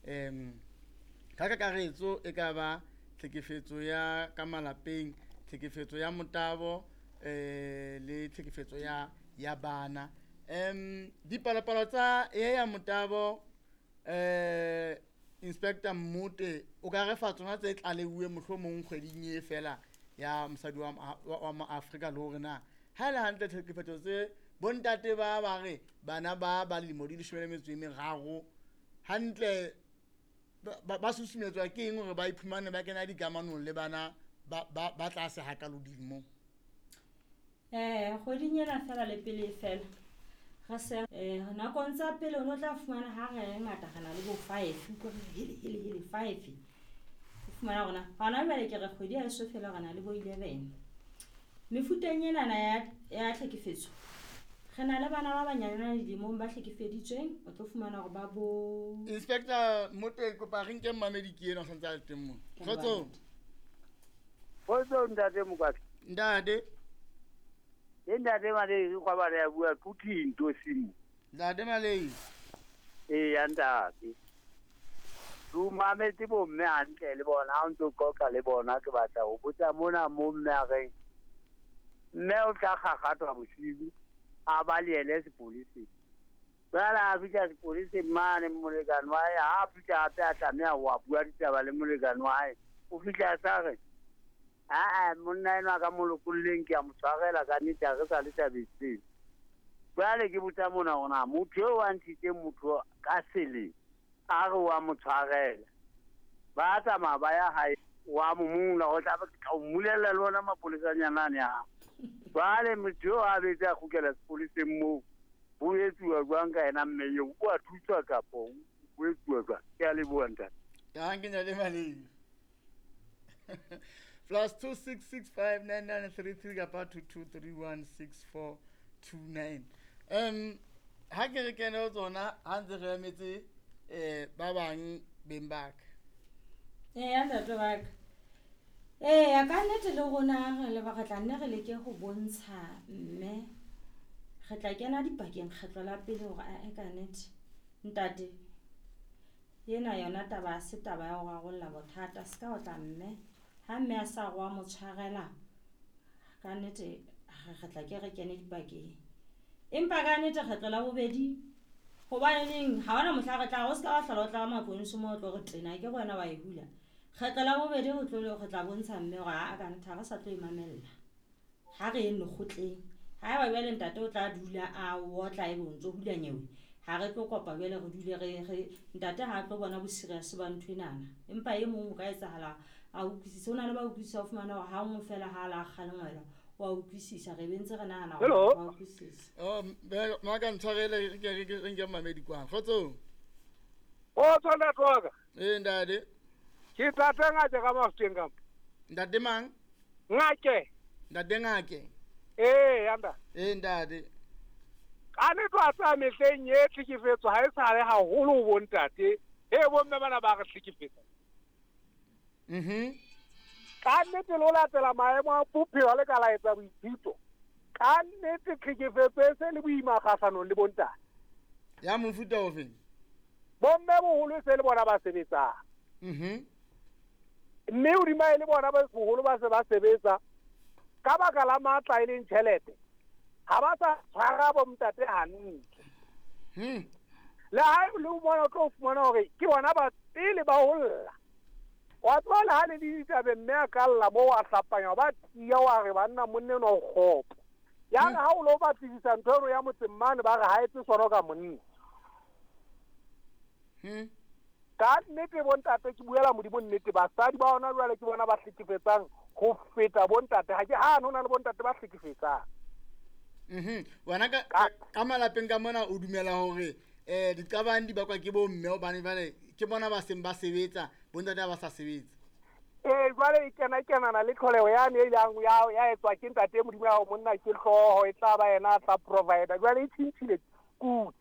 Um ka kakaretso e ka ba tlhekefetso ya ka malapeng, tlhekefetso ya motabo, le tlhekefetso ya bana. Dipalopalo tsa e ya motabo, Inspector Mmote, o ka re fa tsona tse tlaleuwe mohlomong kgweding e fela ya mosadi wa mo Afrika, le hore na ha ele hantle tlhekefetso tse bontate ba ba re bana ba ba lemo di 13 hantle ba susumetswa ke eng hore ba iphumane ba kena dikamanong le bana ba tlase hakalo dilemong? Kgweding ena fela le pele fela re se nakong tsa pele o no tla fumana ha re ngata re na le bo 5 ko re hele hele hele 5 o fumana rona hona jwale ke re kgwedi ha eso fela re na le bo 11. Mefuteng enana ya tlhekefetso re na le bana ba banyane dilemong ba hlekefeditsweng, o tlo fumana hore ba bo Inspector Mmote, kopa re nke mmamedi ke ena o santse a le teng mo. Kgotso. Kgotso ntate Mokwatla. Ntate. Ke ntate Malei kwa ba ya bua Puthinto simo. Ntate Malei. Ee ya ntate. Du mametse bo mme hantle le bona ha o ntso qoqa le bona, ke batla ho botsa mona mo mme a reng mme o tla kgakgathwa bosiu a ba le yene sepoleseng. Jwale a fihla sepoleseng mane molekane wa hae, ha a fihla hape a tlameha ho a bua ditaba le molekane wa hae. O fihla a sa re aa monna enwa ka mo lokolleng ke a mo tshwarela ka nnete ha re sa le tabeng tseno. Jwale ke botsa mona hore na motho eo a ntshitseng motho ka seleng a re wa mo tshwarela, ba tsamaya ba ya hae wa mo mula, o tla o mmulella le ona mapolesanyana ane a. Jwale motho eo a betse a kgutlela sepoleseng moo, ho etsuwa jwang ka yena mme eo? O a thuswa kapa ho etsuwa jwang? Ke a leboha ntate. Danke ntate Malei. +266 59933 kapa 22316429. Ha ke re kene ho tsona ha ntse re emetse ba bang beng ba ka. Eya ntate wa ka. Eya ka nnete le rona re le ba re tla nne re leke ho bontsha mme re tla kena dipakeng kgetlo la pele hore ae ka nnete ntate ena yona taba ha se taba ya ho rarolla bothata, se ka otla mme ha mme a sa re wa mo tshwarela ka nnete re tla ke re kene dipakeng. Empa ka nnete kgetlo la bobedi hobaneneng ha hona mohla re tla o se ka wa hlola o tla maponesa mo o tlo re tena ke wena wa e hula. Kgetlo la bobedi re tlo re tla bontsha mme hore ha ka nnete ha re sa tlo e mamella, ha re yeng lekgotleng. Haeba jwale ntate o tla dula a otla ebe o ntso hula nyewe, ha re tlo kopa jwale re dule re ntate ha tlo bona bo serious ba ntho enana. Empa e mong o ka etsahala a utlwisise, ho na le ba utlwisisa o fumana hore ha nngwe fela ha la kgalengwela wa utlwisisa, re bentse re nahana hore wa utlwisisa. Oh maka ntshwarele re nke mmamedi kwano. Kgotso. Kgotso ntate wa ka. Ee ntate. Ke ntate Ngake ka Mafuteng ka mo. Ntate mang? Ngake. Ntate Ngake. Ee ya ntate. Ee ntate. Ka nnete wa tseba mehleng e tlhekefetso ha e sale haholo ho bontate, e bomme bana ba re hlekefetsa. Ka nnete le ho latela maemo a bophelo le ka la etsa boithuto. Ka nnete tlhekefetso e se le boima kgahlanong le bontate. Ya mofuta ofe? Bomme boholo e se le bona ba sebetsang. Mme hodima e le bona ba boholo ba se ba sebetsa ka baka la matla e leng tjhelete, ha ba sa tshwara bo ntate hantle. Le ha le mona o tlo fumana hore ke bona ba pele ba ho lla. Wa tseba le ha le ditabeng mme a ka lla moo a hlapanya ba tiya wa re banna monna enwa o kgopo. Ya re ha o lo batlisisa ntho eno ya motseng mane ba re ha etse sona ka monna. Ka nnete bontate ke buela Modimo nnete, basadi ba hona jwale ke bona ba hlekefetsang ho feta bontate. Ha ke hane ho na le bontate ba hlekefetsang. Wena ka malapeng ka mona o dumela hore diqabang di bakwa ke bomme hobane jwale ke bona ba seng ba sebetsa, bontate ha ba sa sebetsa. Jwale e kena kenana le tlholeho yane e ilang ya etswa ke ntate Modimo ya monna ke hlooho e tla ba yena a tla provider. Jwale e tjhintjhile kudu.